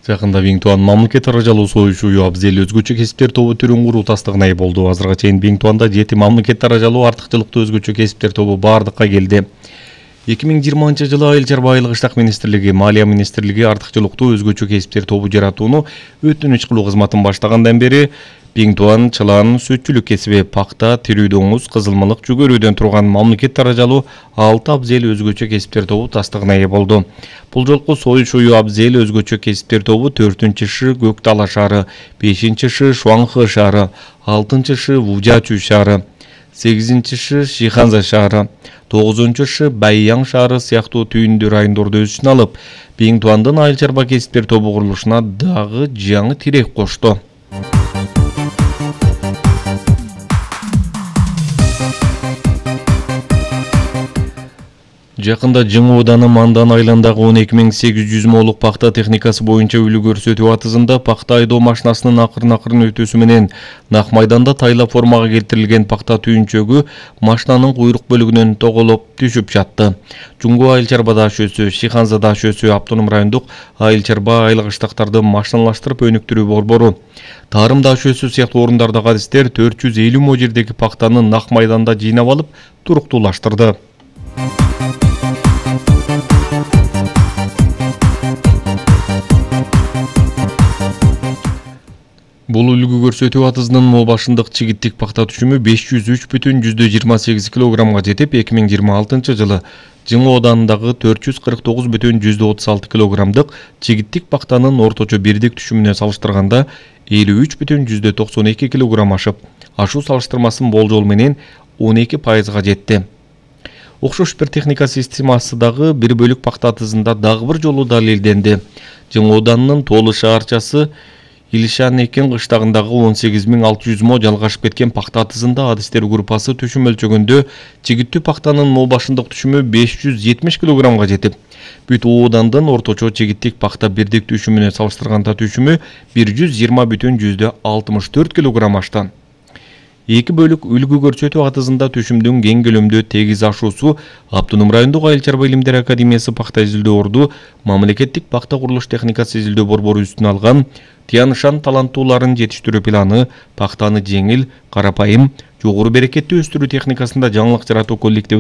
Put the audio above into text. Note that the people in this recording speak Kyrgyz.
Жакында Биңтуан мамлекет аралашуу союшу Абзел өзгөчө кесиптер тобу түрүн куруу тастыгына ээ болду. Азырга чейин Биңтуанда 7 мамлекет аралашуу артыкчылыктуу өзгөчө кесиптер тобу бардыкка келди. 2020 жылы Айыл чарба айылык иштак министрлиги, Малия министрлиги артыкчылыктуу өзгөчө кесиптер тобу жаратууну өтүнүч кылуу кызматын баштагандан бери Биңтуан чылан сүтчүлүк кесиби, пакта, тирүү доңуз, кызылмалык жүгөрүүдөн турган мамлекет аралашуу 6 Абзел өзгөчө кесиптер тобу тастыгына ээ болду. Бул жолку союш Абзел өзгөчө кесиптер тобу 4-шы Көк Дала шаары, 5-шы Шуаңхы шаары, 6-шы Вужачу шаары, 8-шы Шиханза шаары, 9-шы Байяң шаары сыяктуу түйүндүү райондорду өз ичине алып, Биңтуандын айыл чарба кесиптер тобу курулушуна дагы жаңы тирек кошту. Жакында Жыңы Ооданы Мандан айылындагы 12800 молук пакта техникасы боюнча үлгү көрсөтүү атызында пакта айдоо машинасынын акырын өтүүсү менен Нак майданда тайла формага келтирилген пакта түйүнчөгү машинанын куйрук бөлүгүнөн тоголоп түшүп жатты. Жуңгу айыл чарба даашөсү, Шиханза даашөсү автоном райондук айыл чарба айылык иштактарды машиналаштырып өнүктүрүү борбору, Тарым даашөсү сыяктуу орундардагы адистер 450 мо жердеги пактаны Нак майданда жыйнап алып, туруктуулаштырды. Бул үлгү көрсөтүү атызынын мол башындык чигиттик пакта түшүмү 503,28 килограммга жетип, 2026-жылы Жыңы Оодандагы 449,36 килограммдык чигиттик пактанын орточо бирдик түшүмүнө салыштырганда 53,92 килограмм ашып, ашуу салыштырмасын болжол менен 12% жетти. Окшош бир техника системасы дагы бир бөлүк пакта атызында дагы бир жолу далилденди. Жыңы Ооданынын Тоолу шаарчасы Илишан экен кыштагындагы 18600 мо жалгашып кеткен пакта атызында адистер группасы түшүм өлчөгөндө чигиттүү пактанын мол башындык түшүмү 570 килограммга жетип, бүт Оодандын орточо чигиттик пакта бирдик түшүмүнө салыштырганда түшүмү 120,64 килограмм ашты. Эки бөлүк үлгү көрсөтүү атызында түшүмдүн кең көлөмдө тегиз ашуусу Автоном райондук айыл чарба илимдер академиясы пакта изилдөө орду мамлекеттик пакта курулуш техникасы изилдөө борбору үстүнө алган Тянышан таланттууларын жетиштирүү планы пактаны жеңил, карапайым, жогору берекеттүү өстүрүү техникасында жаңылык жаратуу коллективи